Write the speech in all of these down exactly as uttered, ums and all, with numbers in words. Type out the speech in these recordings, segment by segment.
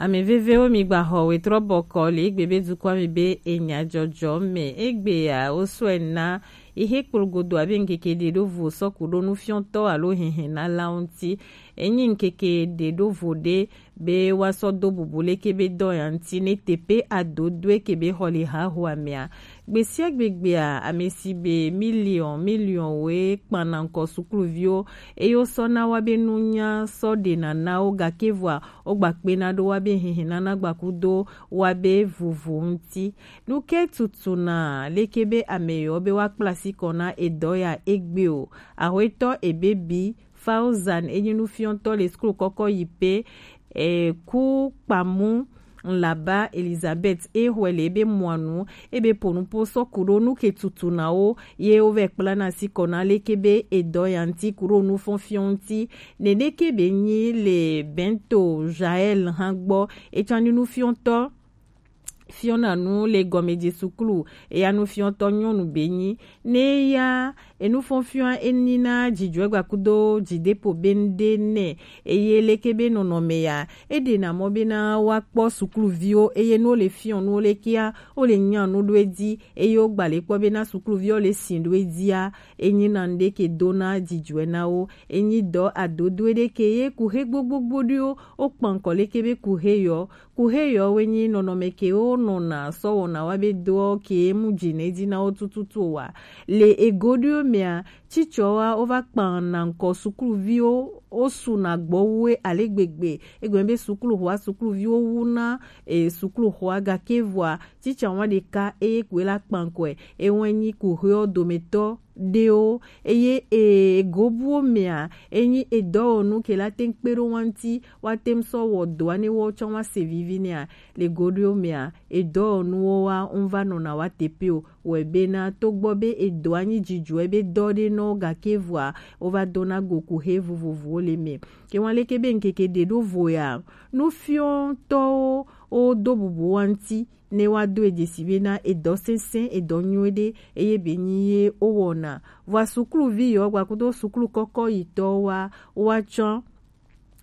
Ame vevewo, mi gba xɔ wetrɔ bɔkɔ le egbe be dukɔa me be enya jɔjɔ me. Egbea, wo sɔe na ihe kplogodo abe ŋkeke ɖe ɖo vo sɔku ɖo nufiɔtɔ alo hehe na la ŋuti. Enyi ŋkeke ɖe ɖo vo ɖe be woasɔ do bubu leke be dɔ ya ŋuti ne teƒe adodoe ke be xɔ le haho amea. Gbe sia gbe gbea, ame si be miliɔn miliɔn woe kpana ŋkɔ sukluviwo eye wosɔ na wa be nunya sɔ ɖena na wo, gake vɔa wogba kpena ɖo wa be hehenana gbakudo wa be vovo ŋuti. Nu ke tutuna leke be ame yewo be woakpla asi kɔ na edɔ ya egbe o? Axwetɔ Ebebi Fauzan enyi nufiɔtɔ le skul kɔkɔ yi pe e, ku kpamu ŋlaba Elizabeth e xɔe le ebe mɔanu ebe ponupo sɔ kuɖo nu ke tutunawo ye wovɛ kplana asi kɔ na leke be edɔ ya ŋuti kuɖo nufɔnfiɔ ŋuti. Nene ke be nyi le Bento Jael hã gbɔ, etsɔ nyi nufiɔtɔ fiɔna nu le gɔmedze suklu, eya nufiɔtɔ nyɔnu be nyi. Ne ya enufɔnfiɔa enyi na dzidzɔe gbakudo dzideƒo be ŋɖe nɛ, eye leke be nɔnɔme ya eɖena mɔ bena woakpɔ sukluviwo eye ne wole fiɔ nuwo lekea, wole nya nu ɖo edzi eye wogba le kpɔ bena sukluviwo le si ɖo edzia, enyi na ŋɖe ke dona dzidzɔe na wo. Enyi dɔ adodoe ɖe ke ye kuhe gbogbogbo ɖewo wokpa ŋkɔ leke be kuhe yɔ. Kuhe yɔwoe nyi nɔnɔme kewo nɔna sɔ wɔna wa be doɔ ke mu dzi ne dzi na wo tututu o wa. Le ego ɖewo mea, tsitsɔwa wova kpana ŋkɔ sukluviwo, wosuna gbɔ wu ale gbegbe. Egɔme be sukluxɔa, sukluviwo wu na e sukluxɔa, gake vɔa tsitsa wa ɖeka eye koe la kpa ŋkɔe. Ewe nyi kuhewo dometɔ ɖewo eye e, egobuwo mea, enyi edɔwɔnu ke la te ŋu kpe ɖo wa ŋuti, woate ŋu sɔ wɔ dɔa ne woawo tsã woase vivi nɛa. Le go ɖewo mea, edɔwɔnuwo wa ŋu va nɔna wa teƒe o, wɔe bena togbɔ be edɔa nyi dzidzɔe be dɔ ɖe nɔ wo, gake vɔa wova dona go kuhe vovovowo le me. Ke wa leke be ŋkeke ɖe ɖo vo ya, nufiɔtɔwo wodo bubu wa ŋuti ne woado e dzesi bena edɔ sesẽ, edɔ nyuie ɖe eye be nyi ye wowɔna. Vɔa sukluvi yewo gbakudo suklu kɔkɔ yitɔwo wa, woatsɔ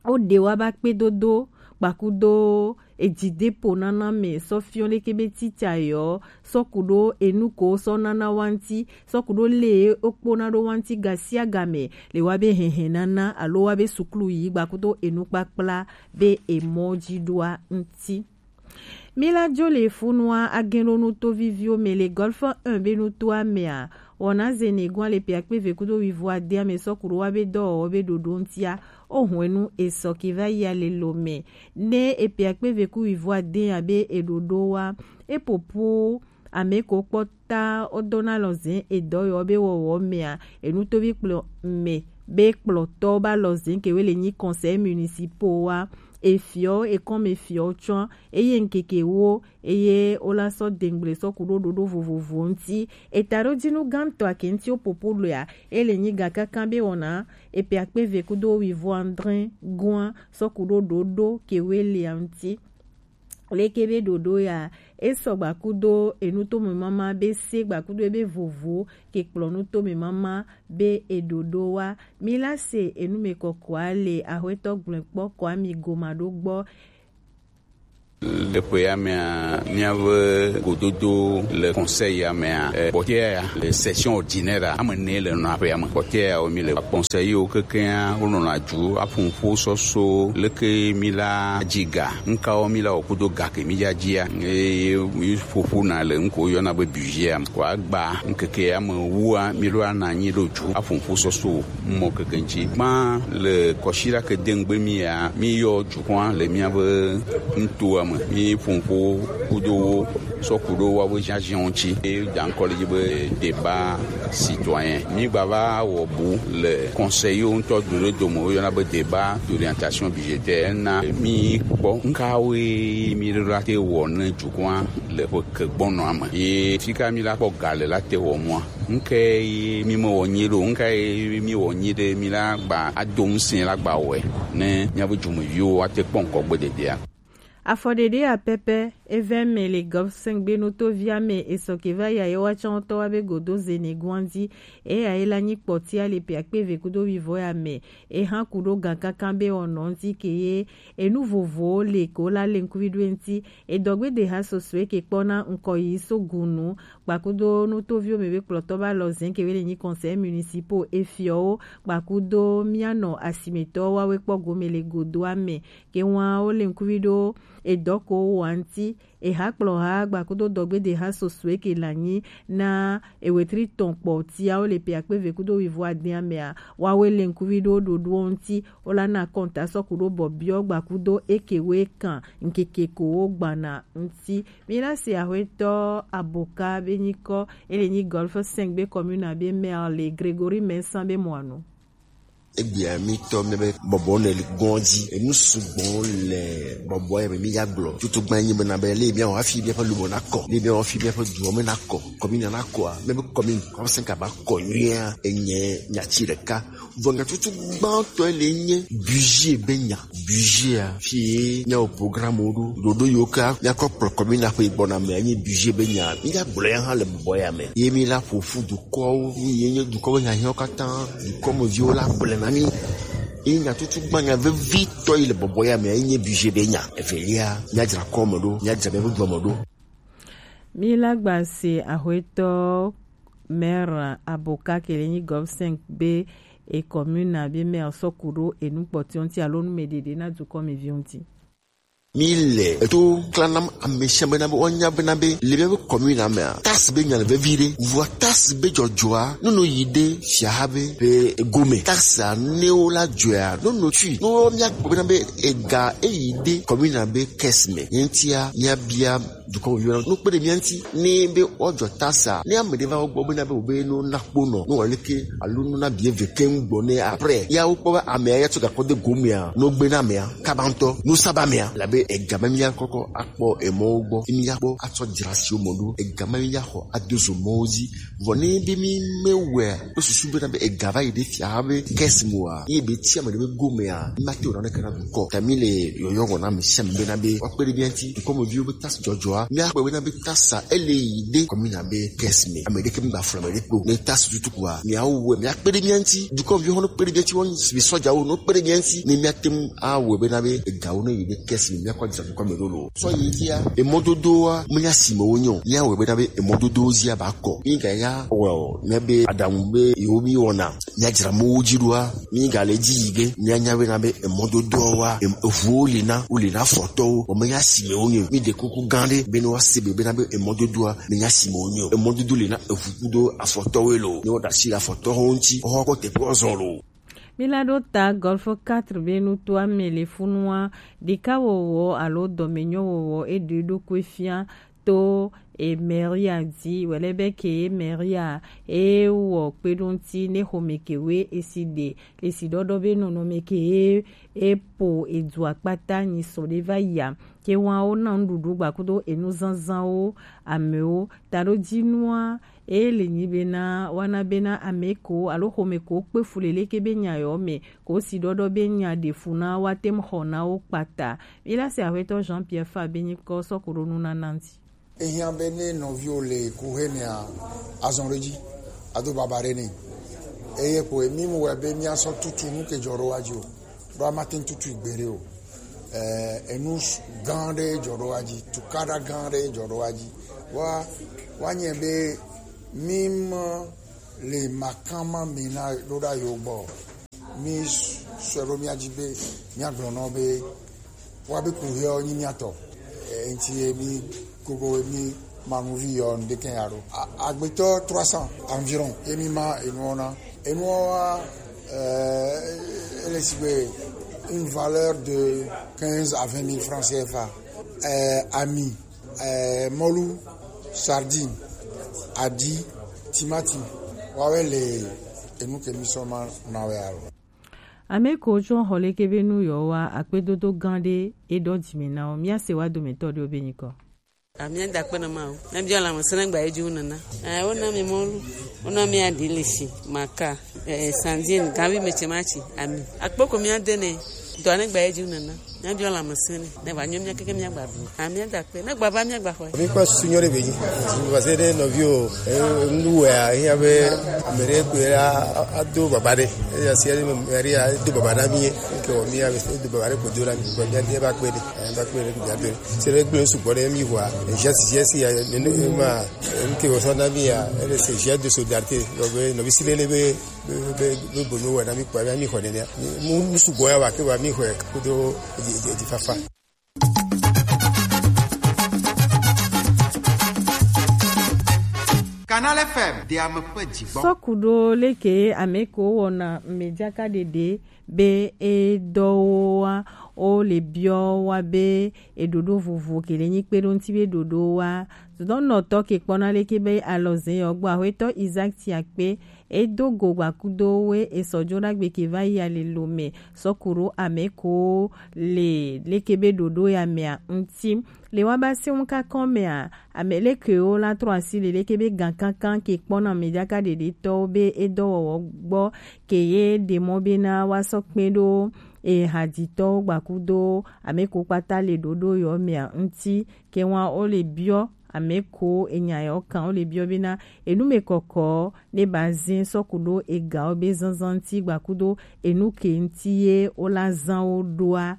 woɖe wa ba kpedodo gbakudo edzideƒo nana me sɔ fiɔ leke be tsitsa yewo sɔ ku ɖo enu ko sɔ nana wa ŋuti, sɔ ku ɖo le wokpona ɖo wa ŋuti gasiagame le wa be hehe nana alo wa be suklu yi gbakudo enukpakpla be emɔ dzi ɖoa ŋuti. Mila jo le funua agenɖo nuto viviwo me le Golfe un be nutoa mea, wɔna zene gua le pe akpe ve kudo wivo adea me sɔ ku ɖo wa be dɔwɔwɔ be ɖoɖo ŋutia. O hwenu esɔ ke va yia le lo me. Ne epe akpe ve ku wivo adea be eɖoɖo wa, epopo ame ko kpɔta wodona lɔzẽ edɔ yɔ be wɔwɔ mea, enutovi kplɔ me be kplɔtɔ ba lɔzẽ ke we le nyi conseil municipal wa, efiɔ ekɔme fiɔ tsɔ eye ŋkeke wo eye wola sɔ dengble sɔ ku ɖo ɖoɖo vovovo ŋuti. Eta ɖo dinu gãtɔ ake ŋuti wo popo loa, ele nyi ga kankan be wɔna epe akpe ve kudo wivo andre gua sɔ ku ɖo ɖoɖo ke we lia ŋuti. Leke be ɖoɖo ya, esɔ gbakudo enutome mama be se gbakudo ebe vovo ke kplɔ nutome mama be eɖoɖo wa. Mi la se enume kɔkɔa le ahwetɔ gblɔe kpɔ kɔa mi goma ɖo gbɔ. Le ƒe ya mea, míaƒe gododo le conseil ya mea, eh, kpɔtɔea ya le session ordinaire ame ne le nɔ aƒea me. Kpɔtɔea ya wo mi le conseil wo kekeŋa wo nɔna dzu aƒo ƒo sɔso leke mi la dziga ŋkawo mi la wɔ kudo ga ke mi dza dzia. Eye mi ƒoƒo na le ŋko yɔna be budget ya me. Ko agba ŋkeke ya me wua mi ɖo ana anyi ɖo dzu aƒo ƒo sɔso mɔ keke ŋtsi. Gbã le kɔsiɖa ke de ŋgbe mi ya, mi yɔ dukɔa le miabe nutoa me. Mi ƒo ƒo kudo wo sɔ ku ɖo woabe ziaziawo ŋtsi. E da ŋkɔ le dzi be débat citoyen. Mi gba va wɔ bu le conseil wo ŋutɔ do ɖe dome wo yɔna be débat d'orientation budgétaire. Na mi kpɔ ŋkawoe mi ɖo la te wɔ ne dukɔa le ƒe ke gbɔnɔa me. Ye fika mi la kpɔ ga le la te wɔ mua. Ŋke ye mi me wɔ nyi ɖo, ŋke ye mi wɔ nyi ɖe mi la gba ado ŋusẽ la gba wɔe ne miabe dumeviwo ate kpɔ ŋkɔ gbe dedea. Afɔɖeɖe ya pɛpɛ Evɛ mɛ le Golf cinq be nutovi amɛ esɔ ke va ya ye wa tsɔntɔ wa be godo ze ne guanzi. Eya ye la nyi kpɔti ale pe akpe ve kudo wivɔ ya mɛ. Eha kudo gan kankan be ɔnɔ nti ke ye enu vovowo le ko la le ŋkuvi ɖo eŋti. Edɔgbedeha sɔsɔe ke kpɔna ŋkɔ yi so gunu kpakudo nutoviwo mɛ be kplɔtɔ ba lɔ zɛn ke be le nyi conseil municipal efiɔwo kpakudo mianɔ asimetɔ wawe kpɔ gome le godo amɛ. Ke wan wo le ŋkuvi ɖo edɔ ko wa ŋti. Eha kplɔha gbakudo dɔgbedeha sɔsɔe ke la nyi na ewetri tɔn kpɔ tiawo le pe akpe ve kudo wivo adin amɛa. Wawe le ŋkuvi ɖo ɖoɖoɔ ŋti. Wo la na kɔnta sɔku ɖo bɔbiɔ gbakudo eke we kan ŋkeke ko wo gbana ŋti. Mi la se ahwetɔ Aboka be nyikɔ ele nyi Golf cinq be commune be maire le Grégory Mensah be mɔanu. Egbea mi tɔ mi be bɔbɔ ne li gɔn dzi. Enu sugbɔ le bɔbɔ ya me mi ya gblɔ. Tutu gban nyi bena be le mi awa fi mi ƒe lumo na kɔ. Le mi awa fi mi ƒe duɔ me na kɔ. Kɔmi na na kɔ a. Me be kɔmi kɔmi se ka ba kɔ nyuia. Enye nyatsi ɖeka. Vɔ nya tutu gbãtɔ le nye budget be nya. Budget a. Fi ye nya o programme wo ɖo. Ɖoɖo yo ka. Nya kɔ kplɔ kɔmi na ƒe gbɔna me nye budget be nya. Mi ya gblɔ ya hã le bɔbɔ ya me. Ye mi la ƒo fu du dukɔwo, ye nye dukɔwo nya hiã katã, dukɔmeviwo la gblẽ na mí. Eye nyatutugbanya vevitɔ yi le bɔbɔ ya mea, ye nye budget be nya. Evelia, míadzra kɔme ɖo, míadzra míaƒe dua me ɖo. Míla gba se ahwetɔ maire Aboka ke le nyi Gov cinq be e commune be maire sɔ ku ɖo enu kpɔtɔe ŋuti alo nu me ɖeɖe na dukɔmeviwo ŋuti. Mi le eto klanam amesiame bena be woanya bena be le míaƒe commune mea, taxe be nya le vevi ɖe. Vɔa taxe be dzɔdzɔa, ne no yi ɖe fiaha be ƒe gome. Taxe ne wo la dzɔa, no no tui. No wo míakpɔ bena be ega eyi ɖe commune be caisse me. Ye ŋutia, míabia dukɔ me viwo, no kpe ɖe mía ŋuti. Ne be woadzɔ taxe, ne ame ɖe va wo gbɔ bena be wo be no na kpo nɔ, no wɔ leke, alo no na bie ve keŋ gbɔ ne après. Ya wo kpɔ be amea ya tsɔ gakɔ de gomea, no gbe na amea, kaba ŋutɔ, no saba amea, labe ega ma mía kɔkɔ akpɔ emɔwo gbɔ, mía kpɔ atsɔ dzra siwo mɔ ɖo, ega ma mía xɔ ado zo mɔwo dzi. Vɔ ne be mi me wɛ, o susu bena be ega va yi ɖe fia be caisse moa, ye be tia me ɖe be gomea, ma te o na ne kana dukɔ. Ta mi le yɔyɔ wɔ na mi sem bena be, wa kpe ɖe mía ŋuti, dukɔmeviwo be taxe dzɔdzɔa, míakpɔe bena be taxe ele yi ɖe commune be caisse me. Ame ɖeke migba flɔ ame ɖe kpo. Ne taxe tutu kua, míawo wɛ, míakpe ɖe mía ŋuti. Dukɔmeviwo hã no kpe ɖe mía ŋuti, wo mi sɔdzawo no kpe ɖe mía ŋuti. Ne míate ŋu awɔe bena be egawo ne yi ɖe caisse me, míakɔ dza dukɔ me ɖo lo. Sɔ yi ŋutia, emɔdodowoa, menya si me wonye o. Míawɔe bena be emɔdodowo zia ba kɔ. Míga ya wɔ o, míabe aɖaŋu be yewo mi wɔna. Míadzra mɔwo dzi ɖoa, mígale dzi yi ge, míanya bena be emɔdodoawoa, em-, eʋuwo li na, wo li na afɔtɔwo, vɔ menya si me wonye o. Míɖe kuku gã ɖe be ne woase be bena be emɔdodoa, menya si me wonye o. Emɔdodo li na eʋu kudo afɔtɔwoe lo. Ne woɖe asi le afɔtɔwo ŋuti, woawo kpɔ teƒe woazɔ lo. Míla ɖo ta Golf quatre be nutoa me le funua, ɖekawɔwɔ alo dɔmenyowɔwɔ eɖe ɖokui fia to e mairie dzi, wòle be ke ye mairie e wɔ kpeɖoŋti ne xɔme ke we esi ɖe esi ɖɔɖɔ be nɔnɔme ke ye e po edu akpata nyi sɔ ɖe va yia. Ke wa wo na nuɖuɖu gbakudo enu zanzanwo amewo. Taɖodzinua e le nyi bena wana bena ame ko alo xɔme ko kpe fu le leke be nya yɔ me ko si ɖɔɖɔ be nya ɖe fu na wa tem xɔ na wo kpata. Mi la se ahwetɔ Jean Pierre Fa be nyi kɔ sɔ ko ɖo nu na nanti. Ehiã be ne nɔviwo le kuxi mea, azɔ ɖe edzi ado baba ɖe nɛ. Eye kpoe mi mu wɛ be míasɔ tutu nu ke dzɔ ɖo wa dzi o, ɖo amate ŋu tutu gbeɖe o. Eh, enu s-, gã ɖe dzɔ ɖo wa dzi, tukaɖa gã ɖe dzɔ ɖo wa dzi. Wa, wa nye be mi me le makama mi na ɖo ɖa yo gbɔ. Mi sɔe ɖo mía dzi be míagblɔ nɔ be woabe kuhiɔ nyi mía tɔ. E, ŋti ye mi gogo mi manuvi yɔ ŋɖeke ya ɖo. A-, agbetɔ trois cents environ ye mi ma enuɔ na. Enuɔ wa, e, ele sigbe une valeur de quinze à vingt mille francs C F A. E, ami, e, mɔlu, sardine, aɖi, timati, woawoe le enu ke mi sɔ ma na wɛ alo. Ame ko tsɔ xɔ leke be nu yɔ wa akpedodo gã ɖe e ɖɔ dzi me na wo. Mía se wa dometɔ ɖewo be nyikɔ. Amia da kpe na ma o. Na bia la mo sene gba eju nana. Eh, wo na mi mɔlu. Wo na mi aɖi le si, maka, eh, sandine, gavi me tse ma tsi, ami. Akpoko mi ade ne. Dɔ ne gba eju nana. Míabiɔ lãmesẽ nɛ, ne wòanyo mía keke míagba ɖu. A míada akpe, ne gbava míagba xɔe. Mi kpɔ susu nyɔ ɖe be dzi. Parce que ne nɔviwo, e, nu wɔa, ehiã be ame ɖe koe a, a, ado baba ɖe. Eya si ame ɖe a do baba na mi ye. Ke wɔ mi a be do baba ɖe ko do na mi. Ko mi a de ba kpe ɖe. E, ba kpe ɖe ko mi a do. Se ɖe gblẽ sugbɔ ɖe mi wa. E, sia si, sia si ya, ne, ne, ma, e, ke wɔ sɔ na mi ya. E, se geste de solidarité. Donc, e, nɔvi si lele be be, be, be, be nu wɔna mi kpɔa, mi xɔ nenea. Mi, mu, mu sugbɔ ya wa ke wa mi xɔe kudo edzi, edzi, edzi fafa. Canal F M, de ame ƒe dzigbɔ. Sɔkuɖo leke ame ko wɔna medzaka ɖeɖe be edɔwoa, wo le biɔ wa be eɖoɖo vovo ke le nyi kpe ɖo ŋuti be ɖoɖo wa. Dɔnɔtɔ ke kpɔna leke be alɔze yɔ gbɔ, aƒetɔ Isaac Tiakpe, edo go gbakudo we esɔjo ɖagbe ke va yi alelo me sɔku ɖo ame ko le leke be ɖoɖo ya mea ŋuti. Le wa ba se ŋu kakɔ mea, ame lekewo la trɔ asi le leke be gankankan ke kpɔna ame ɖaka ɖeɖetɔwo be edɔwɔwɔ gbɔ ke ye ɖe mɔ bena wa sɔ kpe ɖo ehadzitɔwo gbakudo ame ko kpata le ɖoɖo yɔ mea ŋuti. Ke wa wo le biɔ ame ko enya yawo kan, wo le biɔ bena enu me kɔkɔ ne ba zin sɔku ɖo egawo be zanzan ŋuti gbakudo enu ke ŋuti ye wo la zan wo ɖoa.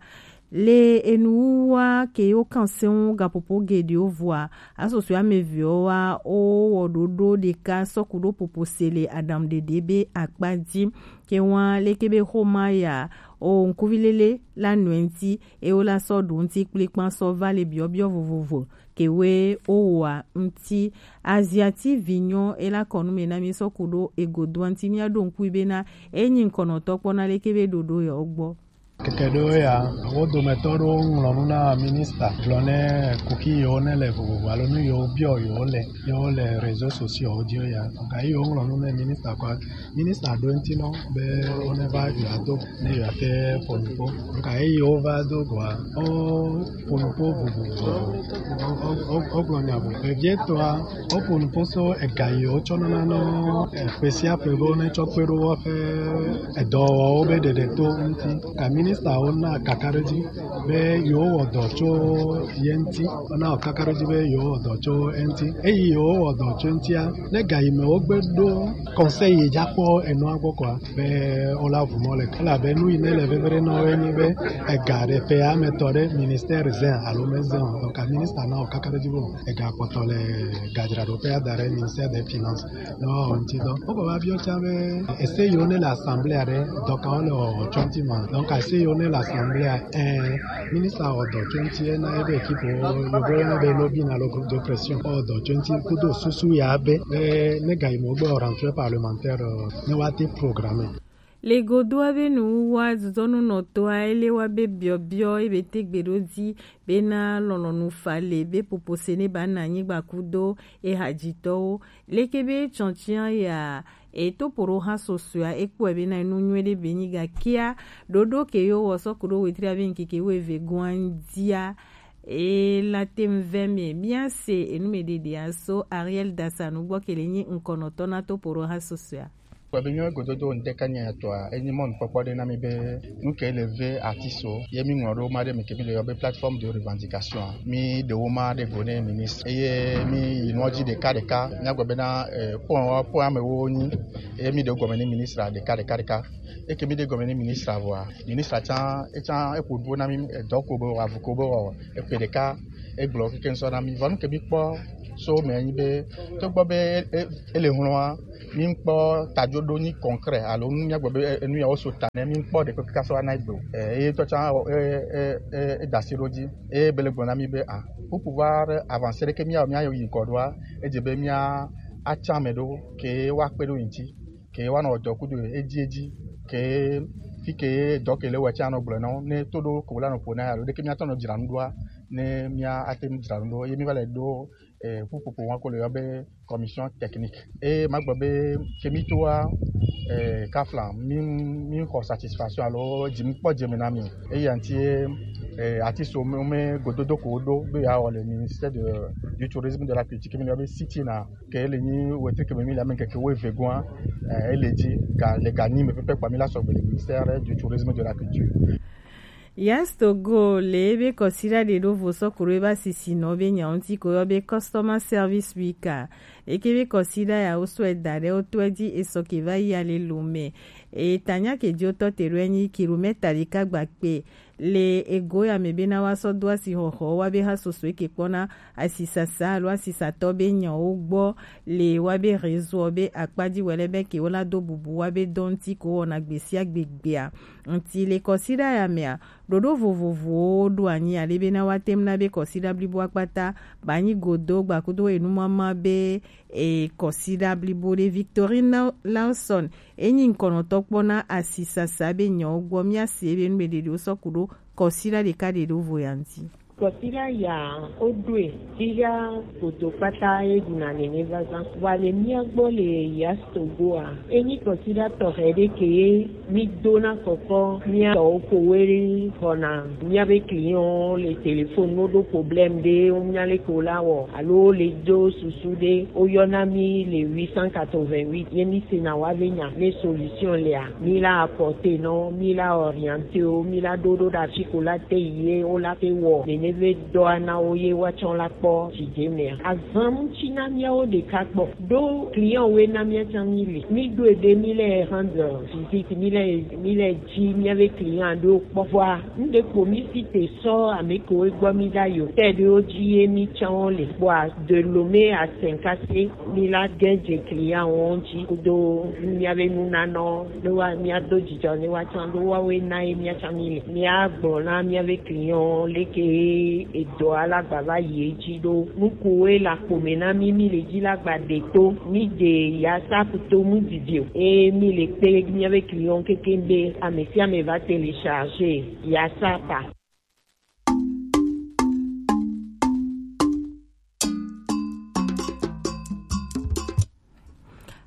Le enuwuwua ke wo kan se ŋu gaƒoƒo geɖewo vɔa, asosɔe ame evewo wa wo wɔ ɖoɖo ɖeka sɔku ɖo popo se le aɖaŋuɖeɖe be akpa dzi. Ke wa leke be xoma ya o ŋkuvi lele la nɔe ŋuti, e wo la sɔ ɖo ŋuti kplikpan sɔ va le biɔbiɔ vovovo ke we wo wɔa ŋuti. Aziati vinyɔ e la kɔ nu me na mi sɔku ɖo egodoa ŋuti, mia ɖo ŋkui bena e nyi ŋkɔnɔtɔ kpɔna leke be ɖoɖo yɔ gbɔ. Keke ɖewo ya, wo dometɔ ɖewo ŋlɔ nu na minista gblɔ ne kuxi yiwo ne le vovovo alo nu yiwo biɔ yiwo le, yiwo le réseaux sociaux dzi ya. Ga yi yiwo ŋlɔ nu ne minista kɔa, minista ɖo ŋuti nɔ be wo ne va yi ado ne yewoate ƒo nu ƒo. Ga yi yiwo va do goa, wo ƒo nu ƒo vovovo. Wo, wo, wo, wo gblɔ nya vovovo. Vevietɔa, woƒo nu ƒo so ega yi wotsɔ nana nɔ, e, ƒe sia ƒe be wonetsɔ kpe ɖo woƒe edɔwɔwɔwo be ɖeɖe to ŋuti. Ka ministawo na kakaɖedzi be yewowɔ dɔ tso ye ŋuti. Wona kakaɖedzi be yewowɔ dɔ tso eŋuti. Eyi yewowɔ dɔ tso eŋutia, ne ga yi me wogbe ɖo conseil yi dza kpɔ enua gbɔ kɔa, be wola vu mɔ le. Elabe nu yi ne le veve ɖe nɔ woe nyi be ega ɖe ƒe ame tɔ ɖe ministère zẽ alo mezẽ o. Donc, ministre na wo kakaɖedzi be ega kpɔtɔ le gadzraɖoƒe ada ɖe ministère des finances. Ne woawɔ ŋuti dɔ. Wogba va biɔ tsã be ese yiwo ne le assemblée ɖe, dɔ kawo le wɔwɔ tso ŋuti ma. Donc, ese yiwo ne le assemblée, eh, ministre wɔ dɔ tso ŋuti na ebe équipe wo, yovo yɔna be lobbying alo groupe de pression. Wɔ dɔ tso ŋuti kudo susu ya be, eh, ne ga yi me wogbe wɔ rentrée parlementaire, eh, ne woate programme. Le godoa be nuwuwua zuzɔnunɔtɔa ele wa be biɔbiɔ ebe te gbe ɖo dzi bena lɔlɔnu fa le be popo se ne ba na anyigba kudo ehadzitɔwo. Leke be tsɔtsia ya eto poɖo ha sosoa ekpɔe bena enu nyuie ɖe be nyi gakia ɖoɖo ke yo wɔ sɔku ɖo wetri abe ŋkeke wueve goa ŋdia. E la tem vɛ me mia se enu me ɖeɖea so Ariel Dasanu gbɔ ke le nyi ŋkɔnɔtɔ na to poɖo ha sosoa. Kpɔ be míawo gododo ŋdeka nya etɔa, enyi mɔnukpɔkpɔ ɖe na mí be nu ke le ve artiste ye mí ŋlɔ ɖo ma ɖe me ke mí le yɔ be plateforme de revendication. Mí ɖewo ma ɖe go ne ministre. Eye mí yi nua dzi ɖeka ɖeka. Míagblɔ bena, eh, point wa, point amewo nyi. Eye mí ɖe gɔme ne ministre ɖeka ɖeka ɖeka. Eke mí ɖe gɔme ne ministre vɔa, ministre tsã, etsã eƒo nuƒo na mí, edɔ ko be wɔ, avu ko be wɔ, eƒe ɖeka. Egblɔ keke ŋsɔ na mí. Vɔ nu ke mí kpɔ so me nyi be, togbɔ be e, e, ele hlɔ̃a, mí kpɔ tajoɖo nyi concret alo nu míagblɔ be, e, enu ya wo so ta ne mí kpɔ ɖe kpekpe sɔ ana egbe o. E, eye tɔ tsã, e, e, e, e da asi ɖo dzi. Eye be le gblɔ na mí be, ah, pour pouvoir avancer ɖe ke mía, mía yi ŋgɔ ɖoa, edze be mía atsã ame ɖo ke woakpe ɖo ŋuti. Ke woanɔ dɔ kudo edzi edzi, ke fi ke dɔ ke le wɔ tsã nɔ gblɔ na wo, ne to ɖo ko la nɔ ƒo na ya lo, ɖeke mía tɔ nɔ dzra nu ɖoa, ne mía ate ŋu dzra nu ɖo, ye mí va le ɖo, eh, ƒuƒoƒo wa ko le yɔ be commission technique. Eye magblɔ be ke mí toa, eh, kafla, mí, mí xɔ satisfaction alo dzi mí kpɔ dze me na mí. Eya ŋuti, eh, artiste wo me, wo me gododo ko wo ɖo be ya wɔ le ministère de, du tourisme, de la culture, ke mí le yɔ be sit-in na. Ke ele nyi wetri ke me mí le ame ŋkeke wuieve goa, eh, ele dzi ga, le ganyi me pɛpɛ kpa mí la sɔgbe le ministère du tourisme de la culture. Yas Togo le ebe kɔsiɖa ɖe ɖo vo sɔ kuro ebe asisinɔ be nya ŋuti ko yɔ be Customer Service Week a. Eke be kɔsiɖa ya wo sɔe da ɖe wo tɔe ji esɔ ke va yi ale lo me. E tanya ke ji wotɔ te ɖo enyi kilomɛta ɖeka gba kpe. Le ego ya me be na wa sɔ do asi xɔxɔ wa be ha soso eke kpɔna asisasa alo asisatɔ be nyawo gbɔ le wa be réseau be akpa ji wɛlɛ be ke wo la do bubu wa be dɔ ŋuti ko wɔna gbesia gbegbea. Ŋuti le kɔsiɖa ya mea, ɖoɖo vovovowo ɖo anyi ale be na wa tem na be kɔsiɖa blibo akpata ba anyi godo gbakudo enumama be e kɔsiɖa blibo ɖe. Victorine Lawson enyi ŋkɔnɔtɔ kpɔ na asisasa be nyawo gbɔ mía se be nu be ɖeɖewo sɔ ku ɖo kɔsiɖa ɖeka ɖe ɖo vo ya ŋuti. Kɔsiɖa ya wo ɖoe figa godo kpata e ɖuna nene vazan. Wa le mía gbɔ le Yas Togo a, enyi kɔsiɖa tɔxɛ ɖe ke ye mi dona kɔkɔ mía tɔwo ko we ɖe xɔna mía be client le téléphone no ɖo problème ɖe wo mía le ko la wɔ alo le do susu ɖe wo yɔna mi le huit cent quatre-vingt-huit ye mi sena wa be nya ne solution lea mi la apporter nɔ mi la orienter wo mi la ɖo ɖo ɖe afi ko la te yi ye wo la te wɔ nene be dɔa na wo ye wa tsɔ la kpɔ didi mea. Azan ŋuti na míawo ɖeka kpɔ. Ɖo client woe na mía tsã mí le. Mí ɖo ebe mí le rendre visite, mí le mí le dzi mía be client ɖo kpɔ. Vɔa, ŋɖe kpo mí si te sɔ ame kewo gbɔ mí ɖa yo. Tɛ ɖewo dzi ye mí tsã wo le. Vɔa, de Lomé à Saint-Cassé, mí la gɛ dze client wo ŋuti. Kudo mía be nunanɔ, ne wa mía do dzidzɔ ne wa tsã ɖo wa woe na ye mía tsã mí le. Mía gblɔ na mía be client leke edɔ alagba va yi edzi ɖo. Nukuwoe le akpo me na mí, mí le dzi la gba ɖe to. Mí ɖe yasap to mu didi o. Eye mí le kpe mía be client keke be ame sia ame va télécharger yasap a.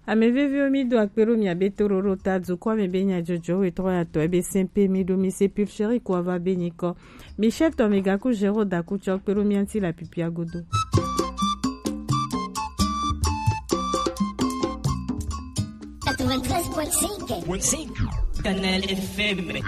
Ame veviwo, mí do akpe ɖo mia be toɖoɖo ta dukɔ me be nyadzɔdzɔ wetɔ ya tɔ ebe sɛn pe mí ɖo mí se pil chéri ko ava be nyikɔ. Michel tɔ mi gaku Géraud daku tsɔ kpe ɖo mía ŋuti le apipia godo. Quatre-vingt-treize point cinq. Canal F M.